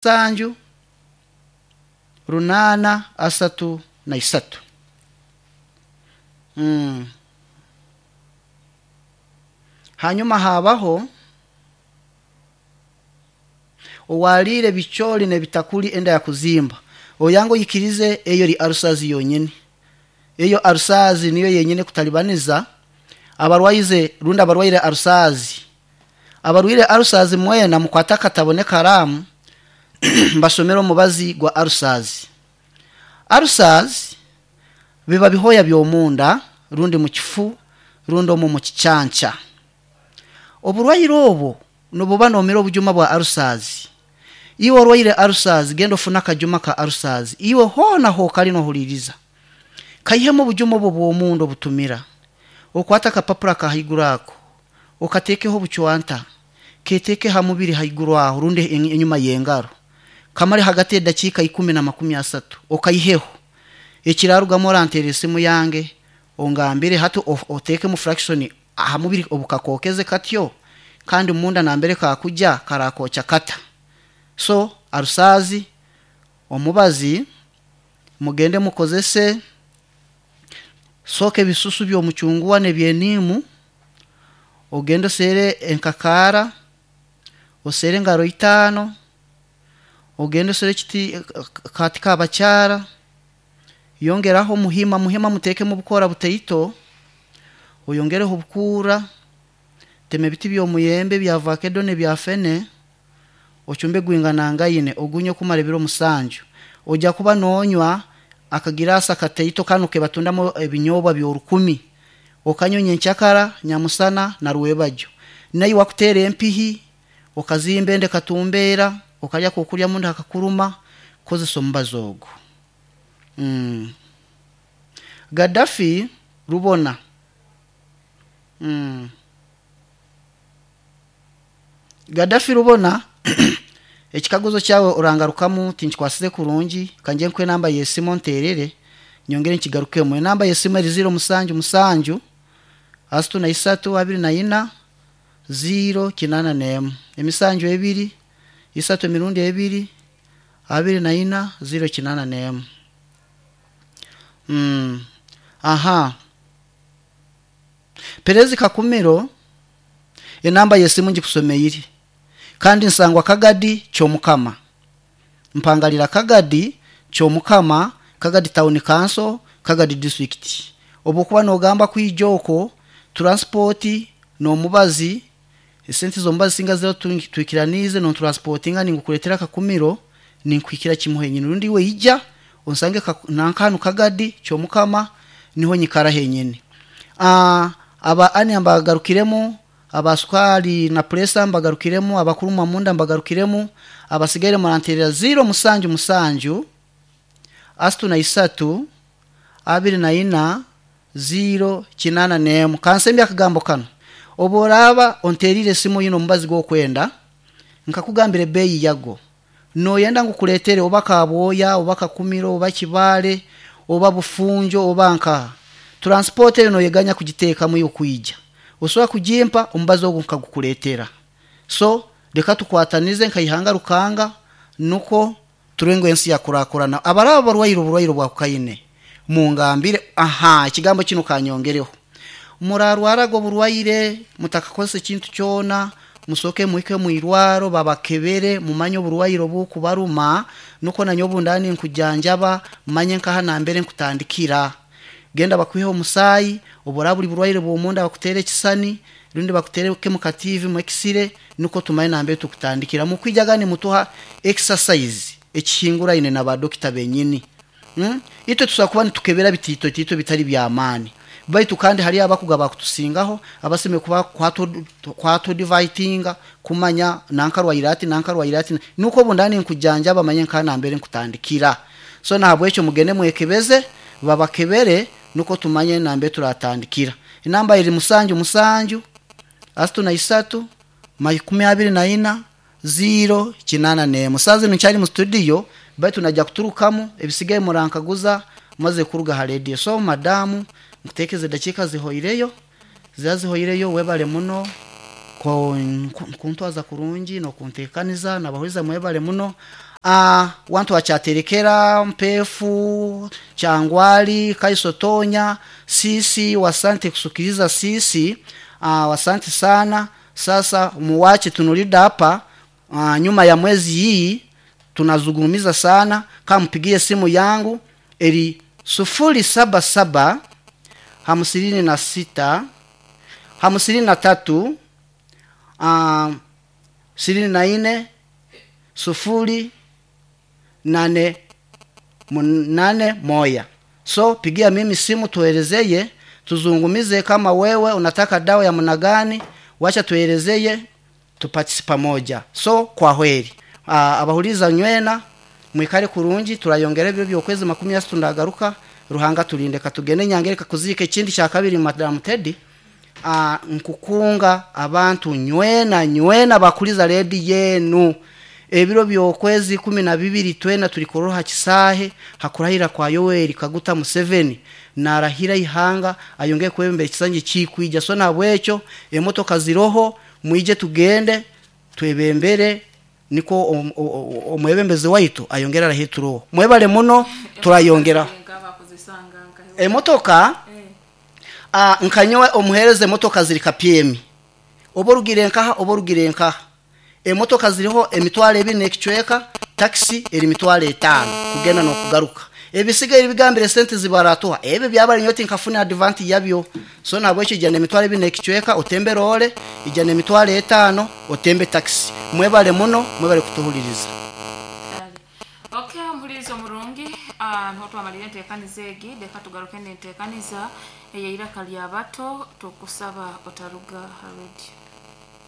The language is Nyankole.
Musanju runaana asatu na isatu. Hanyuma habaho owaliire ebicoori n'ebitakuri enda yakuzimba. Oyange oyikirize eyo eri arusazi yonyini. Eyo arusazi niyo yenyini ekutalibaniza abarwaize rundi abarwaire arusazi. Abarwaire arusazi mwena mukwate akatabo n'ekaraamu mbashomere omubazi gwa arusazi. Arusazi biba bihooya by'omunda rundi mu kifu rundi omu mu kicanca. Oburwaire obwo nibuba noomira obujuma bwa arusazi. Iwe orwaire arusazi genda ofune akajuma ka arusazi. Iwe hoona hookari noohuririza. Kaihemu obujuma obwo bw'omunda obutumira. Okwate akapapura ka haiguru ako, okateekeho obucwanta, keeteeke ha mubiri haiguru aho rundi enyima y'engaro. Kamare hagati y'edakiika ikumi na makumi asatu okaiheho. Ekiraarugamu oranteera esimu yange ongambire hati oteekemu fraction aha mubiri obukakookeze katyo kandi munda nambere kaakugya karakookya kata. So arusazi, omubazi mugende mukozese sooka ebisusu by'omucunguwa n'eby'eniimu, ogende oseere enkakaara, oseere engaro itaano, ogende oseere ekiti akati k'abakyara, yongeraho omuhima, muhima muteekemu obukoora butaito, oyongereho obukuura, tema ebiti by'omuyembe ebya vakedo n'ebya fene, ocumbe gwinganangaine ogunywe kumara ebiro musanju. Oija kuba noonywa akagiraasi akataito kanu kebatundamu ebinyoobwa by'orukumi, okanywa nyenkyakara, nyamusana na rwebagyo. Naiwe akuteera empihi, okazimba enda ekatumbeera, okarya akokurya munda hakakuruma, kozesa omubazi ogu. Gaddafi Rubona. Gaddafi Rubona ekikaguzo kyawe orangarukamu tinkikwasize kurungi kangye nkuhe enamba y'esimu onteerere nyongere nkigarukemu. Enamba y'esimu eri ziiro musanju musanju asatu na isatu abiri na ina ziiro kinaana n'emwe. Emisanju ebiri, isatu emirundi ebiri, abiri na ina, ziiro kinaana n'emwe. Aha. Perezi Kakumiro enamba y'esimu ngikusomeire kandi nsangwa Kagadi Kyomukama. Mpangarira Kagadi Kyomukama, Kagadi Town Council, Kagadi District. Obu okuba noogamba kwija okwo, turansipooti n'omubazi, esente z'omubazi singa ziraba twikiraniize noonturansipotinga ninkukureetera Kakumiro ninkuhikira kimwe henyini. Rundi iwe ija onsange nanka hanu Kagadi Kyomukama niho nyikara henyini. Aba ania mbagarukiremu, aba sukaari na pureesa mbagarukiremu, abakurumwa munda mbagarukiremu, abasigaire muranteerera ziiro musanju musanju, asatu na isatu, abiri na ina, ziiro kinaana n'emwe. Kansembye akagambo kanu, obu oraaba onteeriire esimu oine omubazi gw'okwenda, nkakugambira ebeeyi yago, nooyenda ngu nkureetere oba Kabwoya, oba Kakumiro, oba Kibaale, oba Bufunjo, oba nkaha, turansipooti eyo nooyeganya kugiteekamu iwe kwija. Osobola kugimpa omubazi ogu nkagukureetera. So reka tukwatanize nka ihanga Rukanga nukwo turebe ngu ensi yakurakurana. Abaraba barwaire oburwaire obwa kokaine mungambire. Aha ekigambo kinu kanyongereho. Murarwaraga oburwaire mutakakozesa ekintu kyona, musooke muhike omu irwaro babakebere mumanye oburwaire obukubaruma nukwo nanye obu ndaba ninkujanjaba manye nkaha nambere nkutandikira. Genda bakwiheho omusaayi, obu oraaba buri burwaire bw'omunda bakuteere ekisani rundi bakuteereke mu katiivi mu ekisire nukwo tumanye nambere tukutandikira. Mukwijaga nimutuha exercise ekihinguraine na badokita benyini. Itwe tusobola kuba nitukebera bitiitotiito bitari by'amaani baitu kandi hariyo abakugu abakutusingaho abasemeriire kuba kwatudivayitinga kumanya nanka arwaire ati nanka arwaire ati nukwo obu ndaba ninkujanjaba manye nkaha nambere nkutandikira. So nahabwekyo mugende mwekebeze babakebere nukwo tumanye nambere turatandikira. Enamba eri musanju musanju, asatu na isatu, makumi abiri na ina, ziiro kinaana n'emwe. Saaha zinu nkyari mu studio baitu naija kuturukamu ebisigaire murankaguza maze kuruga ha rediyo. So madaamu nkuteekeze edakiika zihoireyo, ziraba zihoireyo webale muno kuntwaza kurungi n'okunteekaniza n'abahuriza mwebale muno. Ah, wantu wachatelekera Mpefu, Changwali, Kaisotonya, sisi wasante kusukiliza sisi. Ah, wasante sana. Sasa muwache tunulida hapa. Ah, nyuma ya mwezi hii tunazungumiza sana. Kama mpigie simu yangu eri 077 56 53 24 0 8 8 1. So pigia mimi simu tuelezeye, tuzungumize kama wewe unataka dawa ya mna gani, wacha tuelezeye tupatisi pamoja. So kwa hweri. Abahuliza nywena mwikare kurungi turayongera ebyo byokwezi 30 ndagaruka Ruhanga tulinde katugende nyangereka kuzika ekindi kya kabiri Madam Teddy. Nkukunga abantu nywena nywena bakuliza redi yenu ebiro byokwezi 12 twena tulikoroha kisahe hakurahira kwa Yoweri Kaguta Museveni narahira ihanga ayongeye kwebembera ekisangi kikwija. So nabwekyo emotoka ziroho mwije tugende twebembere niko omwebembezi waitu ayongera arahituroho. Mwebale muno turayongera emotoka. Nkanyowe omuhereze emotoka ziri kapyemi oba orugire nkaha oba orugire nkaha emotoka ziriho emitwaro ebiri n'ekicweka taxi eri mitwaro 5 kugenda n'okugaruka ebisigaye bigambire sente zibaratuha ebyo byabari nyoti nkafuna advantage yabyo. So nabwekyo ijana emitwaro ebiri n'ekicweka otembe role ijana emitwaro 5 otembe taxi. Mwebale muno mwebale kutuhuliriza. Okay, omuhuliriza omurungi, niho twamalire enteekaniza egi. Leka tugaruke n'enteekaniza eyeiraka lya bato, tukusaba otaruga ha radio.